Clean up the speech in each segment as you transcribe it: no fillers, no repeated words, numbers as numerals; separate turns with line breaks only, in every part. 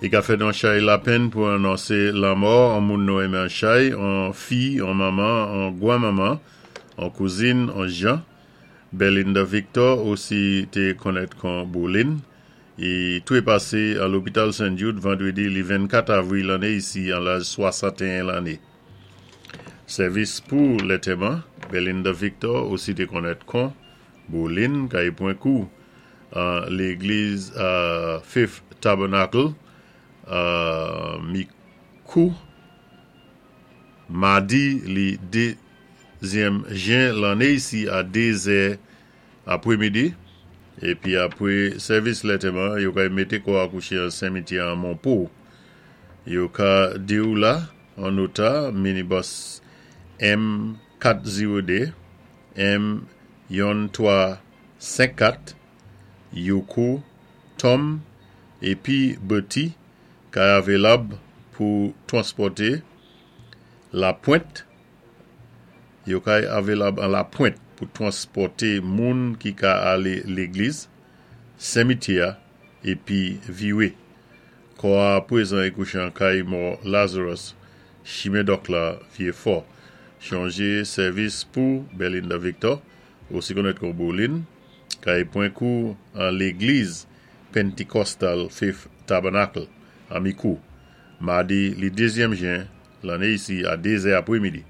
I ka fè nou an chay lapenn pou anonsé lanmò an moun nou enmen an chay, an fi, an manman, an gwanmanman, an kouzin, an jan. Belinda Victor osi té konnèt kon Boulin. I twé pasé an lopital St. Jude vandrédi li 24 avwi lanné isi an laj 61 lanné. Sèvis pou lètèman, Belinda Victor osi té konnèt kon Boulin kay pwan kou an légliz Faith Tabernacle Mikou madi li 2zyèm jen lanné isi a 2 zè apwémidi épi apwé sèvis lètèman yo kay mété kò a kouché an senmityè an Monpo. Yo ka di-w la an ota minibus M 4 02 M 1 3 5 4 Youkou Tom épi Betty kay avelab pou twanspòté Lapwent yo kay avelab an Lapwent pou twanspòté moun ki ka alé légliz, senmityè a épi viwé. Kò a pwézan i kouché an kay mò Lazarus, chimen Dòk la, Vyé Fò. Chonjé sèvis pou Belinda Victor, osi konnèt kon Boulin, kay pwan kou an légliz Pentecostal Faith Tabernacle an Mikou, madi li 2zyèm jen lanné isi a 2 zè apwémidi.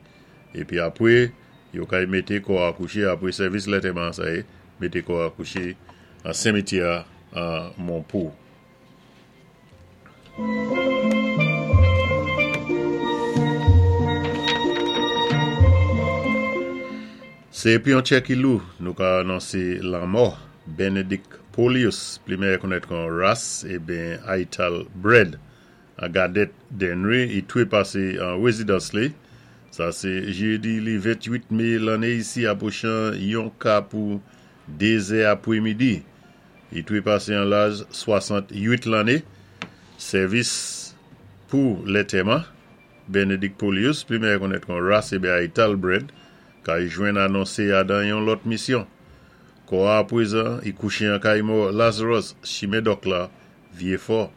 Épi apwé yo kay mété kò a kouché apwé sèvis lètèman sa yé, mété kò a kouché an senmityè an Monpo. Sé épi an tchè ki lou nou ka anonsé lanmò Benedict Polius, pli mèyè konnèt kon Ras eben Aital Bread an Gadèt Denry i twé pasé an wézidans li. Sa sé jédi li 28 mé lanné isi apwochan yon ka pou 2 zè apwémidi. Li twé pasé an laj 68 lanné. Sèvis pou lètèman, Benedict Polius, pli mèyè konnèt kon Ras eben Aital Bread, kay jwenn anonsé a dan yon lòt misyon. Kò a apwézan i kouché an kay mò Lazarus, chimen Dòk la, Vyé Fò.